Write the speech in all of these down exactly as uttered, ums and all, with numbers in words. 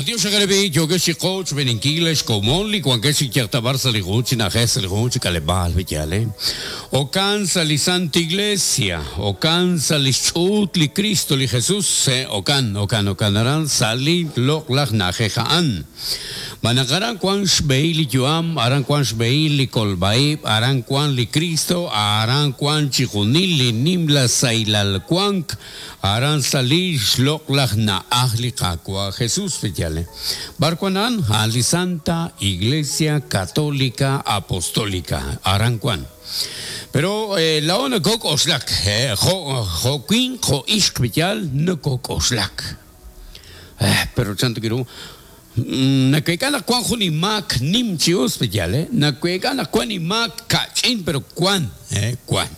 Matiox xagalebi yokex chiqoch beninkil xkomon li wankex chikyaqtabar sa li jun chi na'ajej sa li jun chi k'aleb'aal b'iyal, eh. Okan sa li Santa Iglesia, okan sa li xch'uut li Cristo li Jesús, eh, okan, okan, okan aran sa li loq'laj na'ajej a'an. Manaq aran kuan xb'ehil li yu'am, aran kuan xb'ehil li kolb'a'ib', aran kuan li Cristo, aran kuan chijunil li nimla saylal kuank, aran sa li xloq'laj na'aj li Qaawa' Jesús b'iyal, eh. B'ar kuan a'an? A'an li Santa Iglesia Católica Apostólica, aran kuan. Pero eh, laa'o nakok'oxlak, eh, jo' jo' winq, jo' ixq b'iyal, nakok'oxlak. Eh, pero chantu kiru, naweek'a naq kuan jun imaak nim chi us b'iyal, eh. Naweek'a naq kuan imaak ka'ch'in, pero kuan, eh, kuan.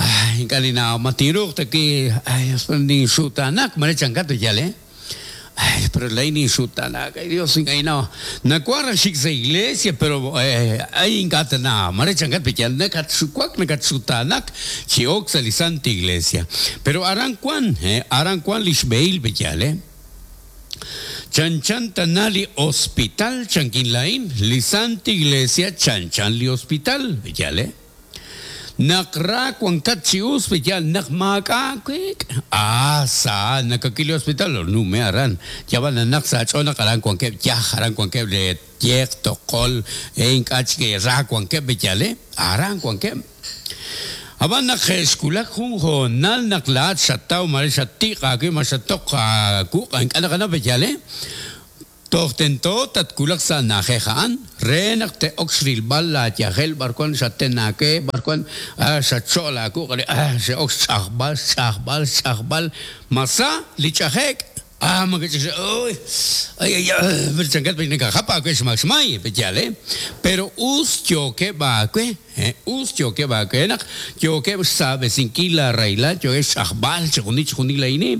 Ay, ink'a' ninaw matinruuq ta ki, ay, ninxutanak, mare chankat b'iyal, eh. Ay, pero lay ninxutanak, ay Dios, ink'a' ninaw. Nakuan raj xik sa iglesia, pero eh, ay ink'a' ta na, mare chankat b'iyal, nakatxuwak, nakatxutanak, chi ok sa li Santa Iglesia. Pero aran kuan, eh, aran kuan li xb'ehil b'iyal, eh. Chanchan tana li hospital chankin lain, li Santa Iglesia chanchan li hospital, b'iyal, eh. Naq ra wankat chi us b'iyal, naq maak'a' kwek. Ah, sa nakakil li hospital, nume aran. Yaban naq sa ch'ool naq aran wankeb' yaj, aran wankeb' le yeq, toqol, eh, ink'a' chik ra wankeb' b'iyal, eh. Aran wankeb'. Ab'an naq xkulak jun hoonal naq laat xataw mare xatiq aawib' ma xatoq aakuq' ink'a' naqana b'iyal, eh. Toj tento tatkulak sa na'ajej a'an re naq te'ok xrilb'al laayajel b'ar kuan xatenaake, b'ar kuan, ah, xatxo'l aakuq', ah, xe'ok xch'ajb'al, xch'ajb'al, xch'ajb'al, masa li ch'aje'k. Ah, ma que uy, ay, ay, ay, pero chankat pe nakajapa kwe xmak xmay, b'iyal, eh. Pero us yookeb' aawe, eh, us yookeb' aawe naq yookeb' xsaab'esinkil la raylal, yookeb' xch'ajb'al chijunil chijunil layni.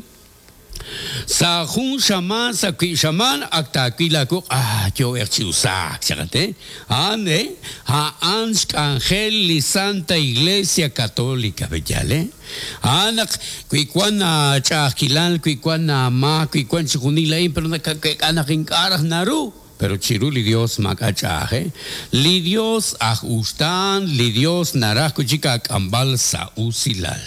Sa jun xamaan, sa kwi xamaan, ak taawil aakuq', ah, yo'ej chi usaak, chaqat, eh. A'an, eh, a'an xk'anjel li Santa Iglesia Católica, b'iyal, eh. A'an naq wi kuan ch'a'ajkilal, wi kuan maak, wi kuan chijunil la'in, pero nakak'ek'a naq ink'a' raj naru. Pero chiru li Dios maak'a' ch'a'aj, eh. Li Dios aj uxtaan, li Dios naraj kuchik aak'amb'al sa usilal.